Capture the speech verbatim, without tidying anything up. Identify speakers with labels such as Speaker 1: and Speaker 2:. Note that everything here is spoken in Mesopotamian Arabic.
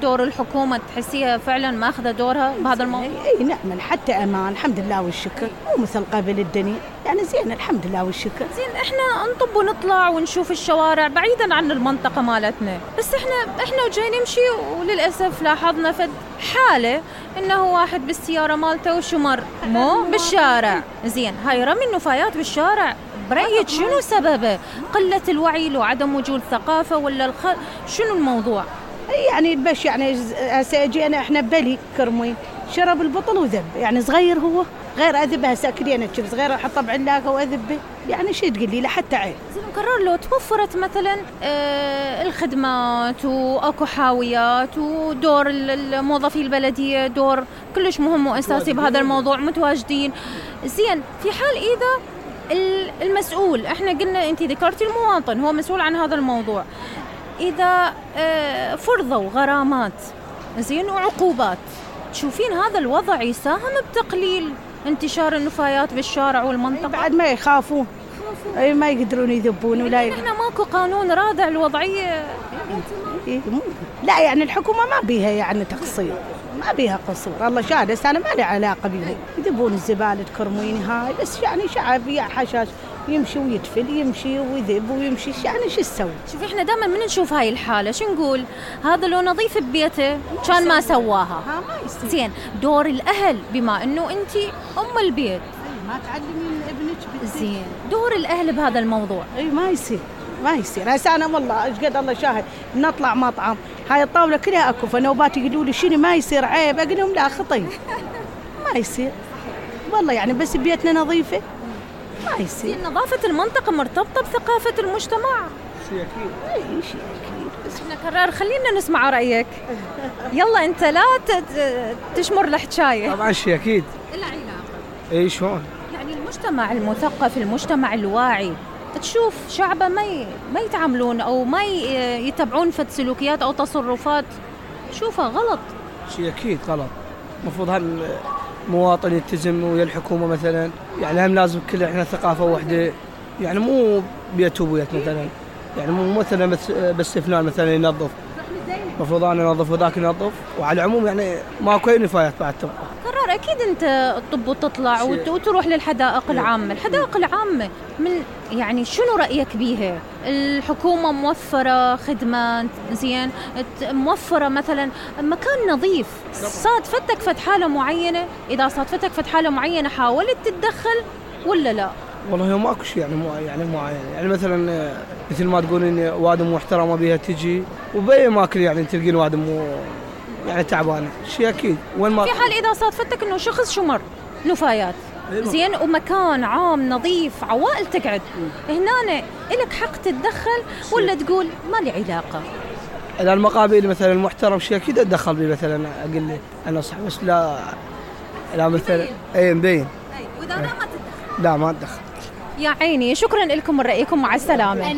Speaker 1: دور الحكومة تحسيها فعلا ما أخذ دورها بهذا الموضوع؟
Speaker 2: اي نعم حتى امان الحمد لله والشكر، مو مثل قبل الدنيا يعني زين الحمد لله والشكر.
Speaker 1: زين احنا نطب ونطلع ونشوف الشوارع بعيدا عن المنطقة مالتنا، بس احنا احنا وجاي نمشي وللأسف لاحظنا فد حالة انه واحد بالسيارة مالته وشمر مو بالشارع. زين هاي رمي النفايات بالشارع برأيك شنو سببه؟ قلة الوعي لو عدم وجود ثقافة ولا الخ... شنو الموضوع؟
Speaker 2: يعني بس يعني هسه اجينا احنا ببلي كرموين شرب البطل وذب، يعني صغير هو غير اذبه هسه اكلينا شوف صغير احطه بعلاقه واذبه، يعني شو تقول لي لحتى عيب.
Speaker 1: زين قرر لو توفرت مثلا آه الخدمات واكو حاويات ودور الموظفي البلديه دور كلش مهم واساسي بهذا الموضوع متواجدين. زين في حال اذا المسؤول احنا قلنا انت ذكرتي المواطن هو مسؤول عن هذا الموضوع، اذا آه فرضوا غرامات زين وعقوبات، تشوفين هذا الوضع يساهم بتقليل انتشار النفايات بالشارع والمنطقة؟
Speaker 2: بعد ما يخافون اي ما يقدرون يذبون ولا
Speaker 1: يعني احنا ماكو قانون رادع الوضعية؟
Speaker 2: لا يعني الحكومة ما بيها يعني تقصير، ما بيها قصور، الله شاهد بس انا ما لي علاقة بيها، يذبون الزبالة كرموين هاي بس يعني شعب يا حشاش يمشي ويتفل يمشي ويذب ويمشي يعني شو تسوي؟
Speaker 1: شوفي احنا دائما من نشوف هاي الحالة شو نقول؟ هذا لو نظيف ببيته كان ما سواها. زين دور الأهل بما انه انت ام البيت
Speaker 2: ما تعلمين ابنك.
Speaker 1: زين دور الأهل بهذا الموضوع؟
Speaker 2: اي ما يصير ما يصير. هسه انا والله ايش قد الله شاهد نطلع مطعم هاي الطاوله كلها اكو فنوبات يقولوا لي شنو ما يصير عيب، اقول لهم لا خطي ما يصير والله يعني بس بيتنا نظيفه ما يصير.
Speaker 1: نظافه المنطقه مرتبطه بثقافه المجتمع.
Speaker 2: شيء اكيد اي شيء اكيد.
Speaker 1: بس احنا قرار خلينا نسمع رايك. يلا انت لا تشمر الحكايه.
Speaker 3: طبعا شيء اكيد.
Speaker 1: الا علاقه.
Speaker 3: اي شلون؟
Speaker 1: يعني المجتمع المثقف المجتمع الواعي تشوف شعبه ما ي... ما يتعاملون او ما ي... يتبعون فد سلوكيات او تصرفات شوفها غلط.
Speaker 3: شيء اكيد غلط. المفروض هالمواطن يلتزم ويا الحكومه مثلا، يعني هم لازم كل احنا ثقافه واحده، يعني مو بيت وبيت مثلا، يعني مو مثلا بس بس فلان مثلا ينظف، المفروض انا انظف وذاك ينظف، وعلى العموم يعني ماكو اي نفايات بعد تبقى.
Speaker 1: قرار اكيد انت تطب وتطلع وتروح للحدائق العامه، الحدائق العامه من يعني شنو رايك بيها؟ الحكومه موفره خدمات زين، موفره مثلا مكان نظيف، صادفتك فد حاله معينه؟ اذا صادفتك فد حاله معينه حاولت تتدخل ولا لا؟
Speaker 3: والله ماكو شيء يعني مو يعني معين، يعني مثلا مثل ما تقولين وادم محترمه بيها تجي وباي اماكن يعني تلقين وادم مو يعني تعبانه، شيء اكيد. وين ما
Speaker 1: في حال اذا صادفتك انه شخص شمر نفايات زين ومكان عام نظيف عوائل تقعد هنا، لك حق تتدخل ولا تقول ما لي علاقه؟
Speaker 3: اذا المقابل مثلا المحترم شيء اكيد اتدخل به، مثلا اقول له انا صح بس لا لا مثلا اي مبين.
Speaker 1: واذا لا ما تتدخل؟
Speaker 3: لا ما اتدخل.
Speaker 1: يا عيني شكرا لكم من رايكم، مع السلامه.